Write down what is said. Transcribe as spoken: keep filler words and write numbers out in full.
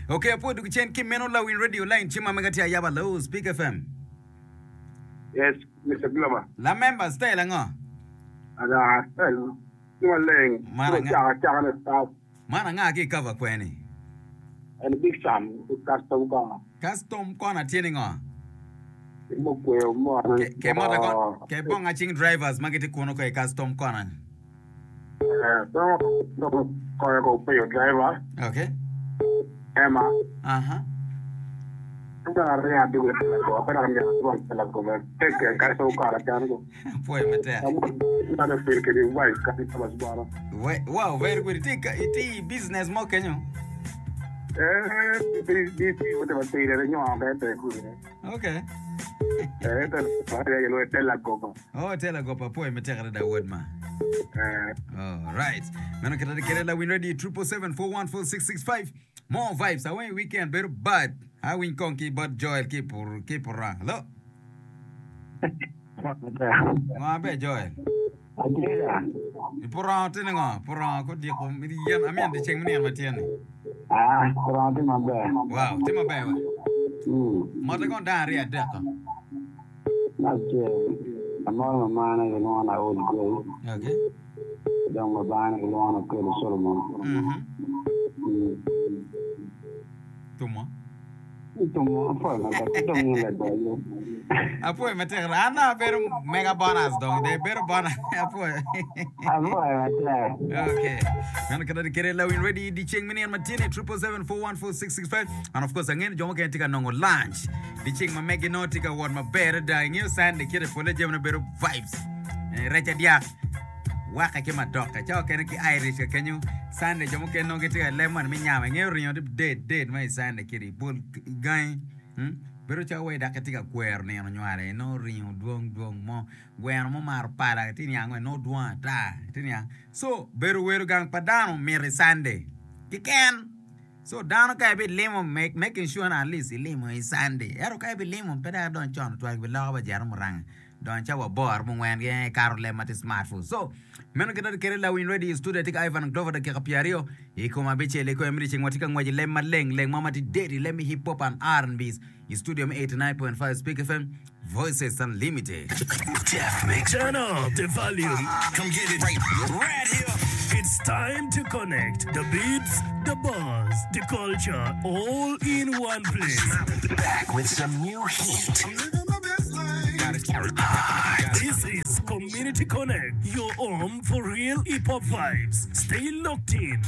Okay, apwoyo dwogo cen ki meno lawiny radio line cim ma mega tye ayaba hello Speak FM. Yes, Mr. Glover. La member style ango? Ada, style tye maleng. Man anga? Caka caka ne start. Man anga ki cover kweni? En Big Sam custom corner. Custom corner tye ni ngo? Mo kweyo mo. Ke ke moto kon ke bonga cing drivers ma gitye kuno ko i custom corner. Eh, so koyo ko peyo driver. Okay. Emma. Aha. Apwoyo matek. We, wow, very good. Itye ka- itye i business mo kenyo? Okay. Oh, tela gopa apwoyo matek adada wod ma. All right. Meno kite kede lawiny radio triple seven four one four six six five. More vibes. Aweny weekend bedo bad. Awiny kong ki bot Joel ki pur ki purang. Hello. Ngo aber Joel? I purango tye ni ngo? Purango kodiko yen amyero di ceng me nino ma tye ni. Ah, purango tye maber. Wow, tye maber wa. Mm. Mote kong dano aryo adek ko. Me acel, amoro mamana gilwongo ni Aol Grace, Okay. dong babana gilwongo ni Okello Solomon. Mhm. Mm. Tumo. Tumo, apwoyo maber, ki dong in ladoyo. Apwoyo matek. An abedo mega bonus dong. De bedo bonus. Apwoyo. Apwoyo matek. Okay. Meno kata kede lawin ready di ceng me nino ma tye ni triple seven four one four six six five and of course angeyo ni jo mukene tye ka nongo lunch di ceng ma megi nongo tye ka wot maber adada ingeyo Sunday kite pole jamine bedo vibes Eh, rec adyak wake ki madoke ca okene ki Irish ka kenyo Sunday jo mukene nongo gitye ka lem moni me nyama ingeyo ringo tye dead dead ma i Sunday kiti bol gangi hmm? bedo calo wai dok itye ka kwero nino nywale inongo ringo dwong dwong mo gweno mo maro pala itye niang nongo dwong ata itye niang so bedo welo gang pa dano mit i Sunday keken so dano ka ibilimo make, making sure ni at least ilimo i Sunday ento ka ibilimo pe dok idony con tutwal gibiloko ba jero muranga donyo cawa aboro mungwen gi ikato leb ma tye smartphone so meno kit ma kede lawiny radio i studio atye ka Ivan Glover dakika pyeraryo i kom abicel i kome me dyeceng watye ka ngwec i leb maleng leng mo ma tye dead i leb me hip hop and R&B's i studio me eighty nine point five Speak FM Voices Unlimited. Turn up the volume. Come get it right, right here. It's time to connect the beats, the buzz, the culture, all in one place. Back with some new heat. This is Community Connect, your home for real hip hop vibes. Stay locked in.